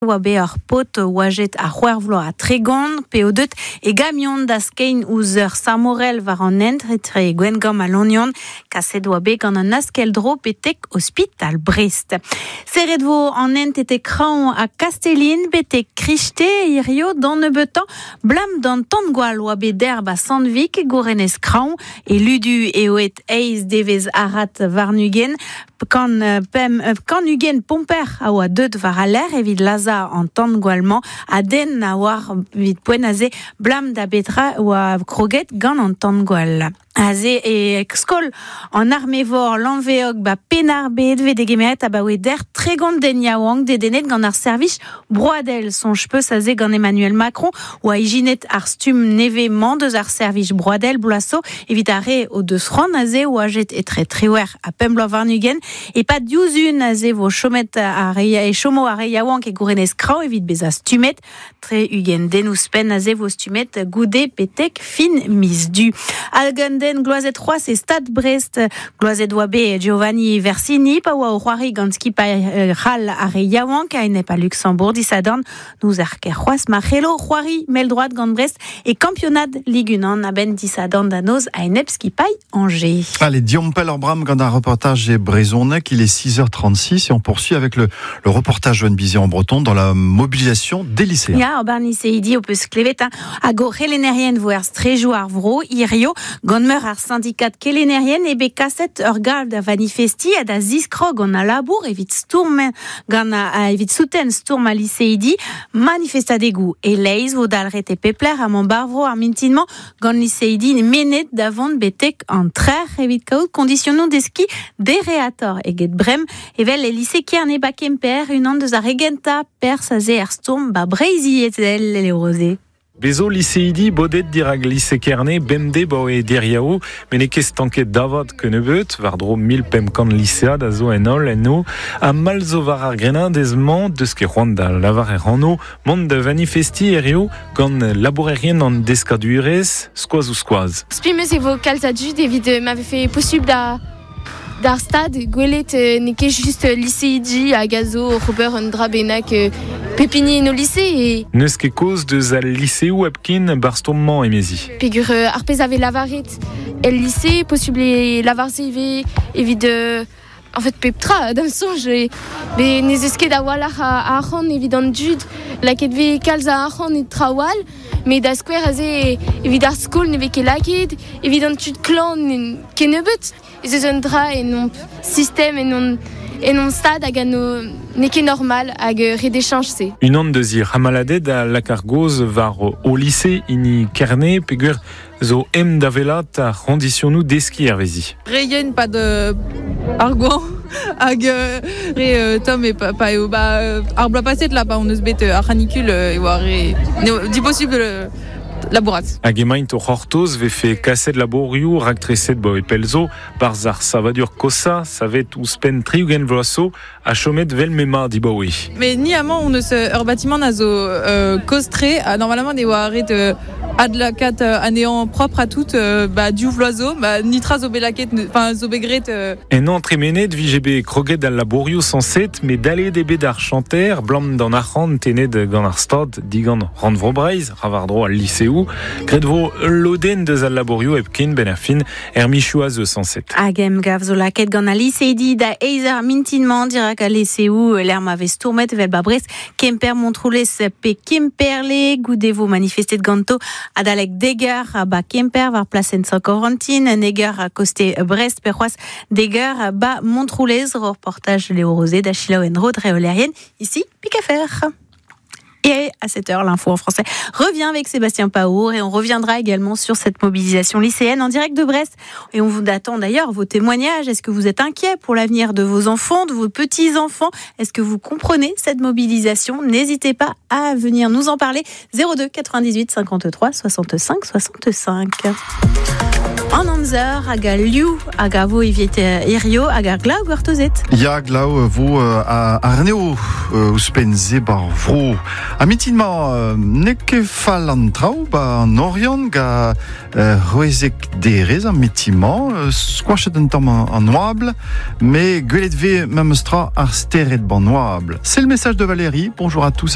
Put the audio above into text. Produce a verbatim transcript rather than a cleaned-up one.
Oa be ur pot oajet a c'hwec'h vloaz ha tregont pe o deut e gamion da skein ouzh ur samorel war an hent etre Gwengamp ha Lannion kaset oa bet gant an askel-dro betek ospital Brest. Serret vo an hent ete Kraon ha Kastellin betek Kriste hirio d'an nebeutañ blam d'an tan-gwall oa bet derb a Sandvik gourenez Kraon e ludu eo et eiz devez arat warnugen kan pem kan ugen pomper a oa deut war a l'air evit laza an tan-gwallmañ a den a oar evit poent aze blam da betra oa kroget gant an tan-gwall. Aze e skol an armevor lanveog ba penar bet ve degemeret a baoe der tregont den yaouank dedennet gant ar servij broadel son peus aze gant Emmanuel Macron oa ijinet ar stum neve man deus ar servij broadel bloaso evit ar re o deus c'hoant aze oa jet etre triwer a pemp bloaz warn-ugent e pa diouzh aze vo chomet ar re e chomo ar re yaouank e gourenez kraou evit bezañ stummet tre ugent den ouzhpenn aze vo stummet goude betek fin miz du. Hag un den gloazet c'hoazh e Stad Brest gloazet oa bet Giovanni Versini pa oa o c'hoari gant skipailh c'hall ar re yaouank a enep a Luxembourg disadorn nous ar ker c'hoazh ma c'hello c'hoari mell-droad gant Brest e kampionad Ligue un a-benn disadorn da noz a enep skipailh Angers. Allez, Diompel ar bram gant ar reportage e brezhoneg, il est six heures trente-six et on poursuit avec le, le reportage Joanne Bizet en breton dans la mobilisation des lycéens. Ya, ober liseidi o peus klevet, hein, hag o c'helennerien vo er strejoù ar vro, hirio, gant meur ar syndikat kelennerien e bet kaset ur galv da manifesti ha da ziskrog gant a labour evit stourm gant a, a, evit souten stourm a liseidi manifestadegou e leiz vo dalret e pepler a man barvro ar mintinman gant liseidi menet davant betek an trer evit kaout konditionou deski dereator eget brem evel e lise Kerne ba Kemper unan deus ar regenta pers a ze ar stourm ba Breizi ezel le rosé. Bezo liseidi bodet dirag lise Kerne bemde bo e diriaou men e ket stanket davat kenebeut war dro mil pemp kant lisead a zo en holl en o ha mal zo war ar grenin dez man deus ket c'hoant da lavar er ranno mont da manifesti erio gant labourerien an deskadurez skoaz ou skoaz. Spi meus e vo kalz a dud evit m'avait fait possible da d'ar stad gwelet n'eo ket just liseidi hag a zo Robert un dra bennak pepini en o lycée e... Neus ket koz deus al lycéou hepken bar stourm-mañ emezi. Pegur ar pezh ave lavaret el lycée, possible e lavarse ivez evit euh, en fait pep tra d'am soñj e be ne zeus ket a-walc'h a arc'hant evit an dud lakaet vez kalz a arc'hant e traoù all met da skouer aze evit ar skol ne vez ket lakaet evit an tud klañv kennebeut ez eus un dra en hon sistem en hon en hon stad hag an n'eo ket normal hag ret e se. Unan deus ir hamaladed a lak ar goz war o lycée hini Kerne peogwir zo em da velat ar c'honditionoù deskiñ hervezi. Reien pa de ar gwan hag re Tom e pa, pa eo ba ar bloaz paset là pa on eus bet ar c'hanicule e oa re n'eo diposible labourat. Hag emaint o c'hortoz vefe kaset labourioù raktreset bo e pelzo barz ar savadur kosa savet ouzhpenn tri-ugent vloaz zo ha chomet vel m'ema dibaoe. Mais ni amañ on eus ur bâtiment a zo euh, kozh-tre ha normalement e oa ret euh, adlakat euh, anezhañ propre à tout euh, ba div vloaz zo ba nitra zo bet lakaet enfin zo bet graet euh... En an tremenet vije bet kroget al labourioù sañset met dalet eo bet ar chanter blam d'an arc'hant tennet gant ar stad digant Rannvro Breizh ra war-dro al liseoù graet vo ul lodenn deus al labourioù hepken ben ar fin er michoù a zo sañset. Hag emgav zo lakaet gant al liseidi da eizh eur mintin-mañ dirak al liseoù lec'h ma vez stourmet evel ba Brest Kemper Montroulez pe Kemperle goude vo manifestet ganto adalek dek eur ba Kemper war plasenn Sant-Corentin neg eur koste Brest pe c'hoazh dek eur ba Montroulez reportage Léo Rosé da selaou en-dro dre Olerien ici Pikafer. Et à sept heures, l'info en français revient avec Sébastien Paour et on reviendra également sur cette mobilisation lycéenne en direct de Brest. Et on vous attend d'ailleurs vos témoignages. Est-ce que vous êtes inquiet pour l'avenir de vos enfants, de vos petits-enfants ? Est-ce que vous comprenez cette mobilisation ? N'hésitez pas à venir nous en parler. zéro deux quatre-vingt-dix-huit cinquante-trois soixante-cinq soixante-cinq. En amzer hag al liv hag a vo evit hirio hag ar glav gortozet. Ya, glav vo a arneo ouzhpenn se bar vro. A mintin-mañ n'eo ket fall an traoù ba an Oriant ga c'hwezek derez an mintin-mañ skoachet un tamm an oabl, mais gwelet vez memestra ar stered ban oabl. C'est le message de Valérie. Bonjour à tous.